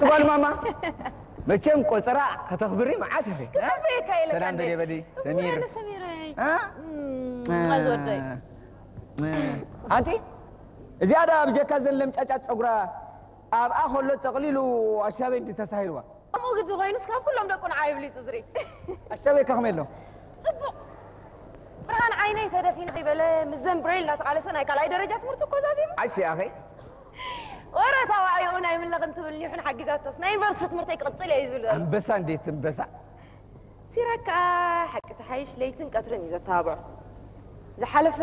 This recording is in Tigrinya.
ጓል ማማ፣ መቸም ቆጸራ ከተኽብሪ መዓት ኢኺ። ክተኽብየካ ኢለ ሰላም ካንዴ። በሊ በሊ ሰሚር። እወ፣ ሰሚረይ። አ? እም፣ ማዝ ወደይ። ኣንቲ እዚኣ ዳ ብጀካ ዘን ለምጫጫት ጸጉራ ኣብኣ ከሎ ጠቕሊሉ ኣሻበይ እንዲ ተሳሂልዋ። ከምኡ ግዲ ኮይኑስ ካብ ኩሎም ደቁ ንዓይ ብሊጹ ዝርኢ። ኣሻበይ ከ ከመይ ኣሎ? ጽቡቕ። ብርሃን ዓይነይ ተደፊኑ ከይበለ፣ ምዘን ብሬል እናተቓለሰ ናይ ካልኣይ ደረጃ ትምህርቱ እኮ ዛዚሙ። ዓሺ ኣኸይ? ወረ ታዋዕዮኡ ናይ ምለኽ እንትብል ኒሑን ሓጊዛቶስ፣ ናይ ዩኒቨርሲቲ ትምህርተይ ክቕጽል እየ እዩ ዝብል ዘሎ። ኣንበሳ እንዴት ኣንበሳ። ሲራክ ከኣ ሓቂ ተሓይሽ ለይትን ቀትርን እዩ ዘተባብዖ። ዝሓለፈ